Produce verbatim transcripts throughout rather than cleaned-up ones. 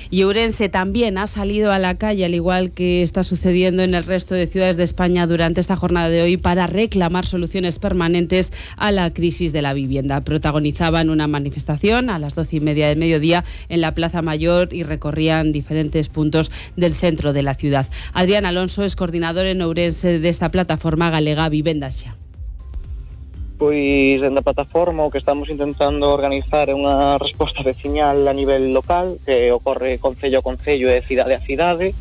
Y Ourense también ha salido a la calle, al igual que está sucediendo en el resto de ciudades de España durante esta jornada de hoy, para reclamar soluciones permanentes a la crisis de la vivienda. Protagonizaban una manifestación a las doce y media del mediodía en la Plaza Mayor y recorrían diferentes puntos del centro de la ciudad. Adrián Alonso es coordinador en Ourense de esta plataforma galega Vivendas Xa. Pois, dentro da plataforma, o que estamos intentando organizar é unha resposta veciñal a nivel local, que ocorre concello a concello e cidade a cidade.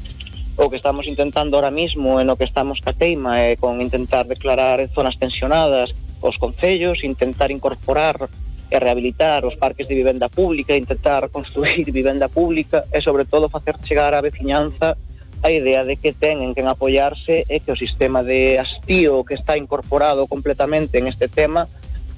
O que estamos intentando ahora mismo, en o que estamos ca teima, é con intentar declarar zonas tensionadas os concellos, intentar incorporar e rehabilitar os parques de vivenda pública, intentar construir vivenda pública e, sobre todo, facer chegar á veciñanza a idea de que ten que apoiarse e que o sistema de hastío que está incorporado completamente en este tema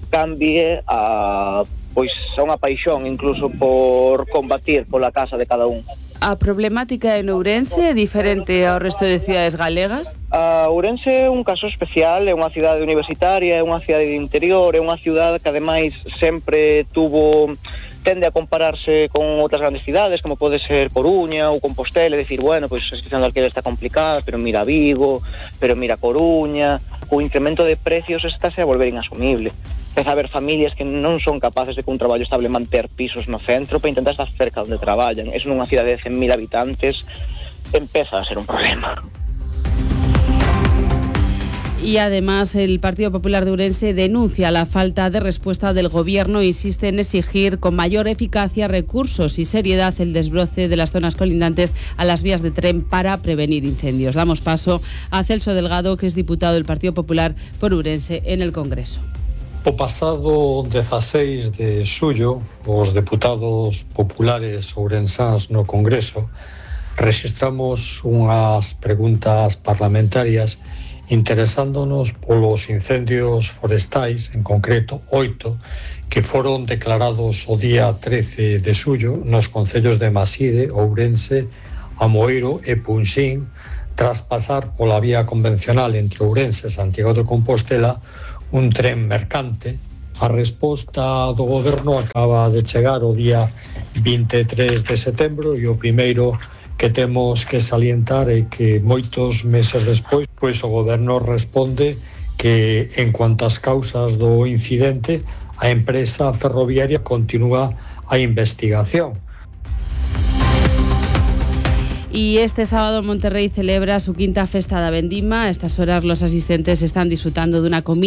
cambie a, pois, a unha paixón incluso por combatir pola casa de cada un. A problemática en Ourense é diferente ao resto de cidades galegas? A Ourense é un caso especial, é unha cidade universitaria, é unha cidade de interior, é unha cidade que ademais sempre tuvo tende a compararse con outras grandes cidades, como pode ser Coruña ou Compostela, e dicir, bueno, pois a situación do alquiler está complicada, pero mira Vigo, pero mira Coruña, o incremento de precios estáse a volver inasumible. Empeza a haber familias que non son capaces de con un traballo estable manter pisos no centro para intentar estar cerca onde traballan. Es nunha cidade de cen mil habitantes, empeza a ser un problema. Y además el Partido Popular de Ourense denuncia la falta de respuesta del Gobierno e insiste en exigir con mayor eficacia, recursos y seriedad el desbroce de las zonas colindantes a las vías de tren para prevenir incendios. Damos paso a Celso Delgado, que es diputado del Partido Popular por Ourense en el Congreso. O pasado dezaseis de xullo, os deputados populares ourensáns no Congreso registramos unhas preguntas parlamentarias interesándonos polos incendios forestais, en concreto oito, que foron declarados o día trece de xullo nos concellos de Maside, Ourense, Amoeiro e Punxín, tras pasar pola vía convencional entre Ourense e Santiago de Compostela un tren mercante. A resposta do Goberno acaba de chegar o día vinte e tres de setembro e o primeiro que temos que salientar é que moitos meses despois, pois o Goberno responde que en cuanto ás causas do incidente, a empresa ferroviaria continúa a investigación. Y este sábado Monterrey celebra su quinta Festa da Vendima. A estas horas los asistentes están disfrutando de una comida